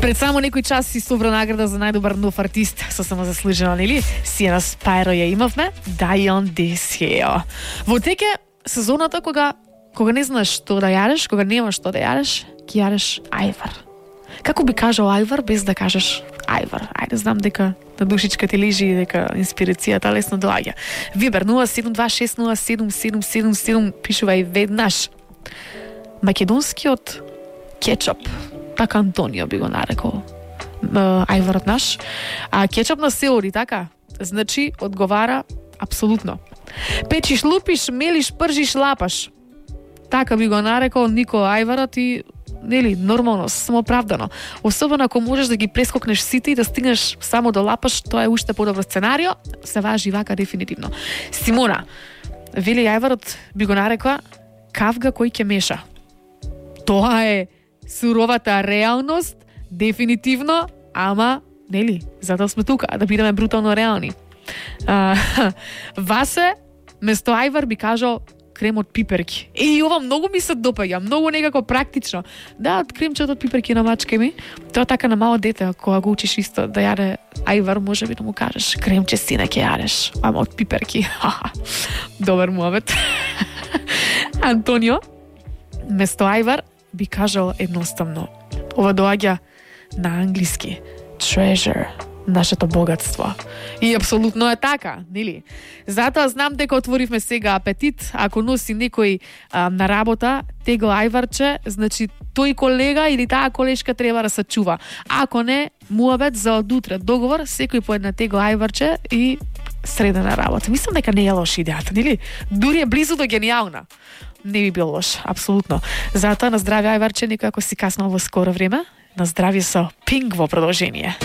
Пред само некој час си собра награда за најдобар нов артист, со самозаслужено, нели? Сиена Спајро ја имавме, Дајон Десео. Во теке сезоната кога не знаеш што да јадеш, кога немаш што да јадеш, ќе јадеш ајвар. Како би кажал ајвар без да кажеш ајвар? Ајде, знам дека на душичка ти лежи и дека инспирацијата лесно доаѓа. Вибер 072607777 пишувај веднаш. Македонскиот кетчуп, така Антонио би го нарекол ајварот наш. А кетчуп на сеори, така? Значи, одговара апсолутно. Печиш, лупиш, мелиш, пржиш, лапаш. Така би го нарекол Нико ајварот и нели, нормално, самооправдано. Особено ако можеш да ги прескокнеш сите и да стигнеш само до лапаш, тоа е уште подобро сценарио, се важи вака дефинитивно. Симона, вели ајварот би го нарекла кавга кој ќе меша. Тоа е суровата реалност, дефинитивно, ама, нели, затоа сме тука, да бидеме брутално реални. Васе, место ајвар би кажал крем од пиперки. И ова многу ми се допаѓа, многу некако практично. Да, од кремчето од пиперки на мачка ми, тоа така на мало дете, кога го учиш исто да јаде ајвар, може би да му кажеш кремче сине ќе јадеш, ама од пиперки. Добар муабет. Антонио, место ајвар би кажал едноставно. Ова доаѓа на англиски. Treasure, нашето богатство. И апсолутно е така, нели? Затоа знам дека отворивме сега апетит. Ако носи некој на работа тегло ајварче, значи тој колега или таа колешка треба да се чува. Ако не, муабет за одутре договор, секој по една тегло ајварче и средена работа. Мислам дека не е лоша идејата, нели? Дури е близу до генијална. Не би бил лош, апсолутно. Затоа на здравје ајварче, некој ако си каснал во скоро време, на здравје со Пинк во продолжение.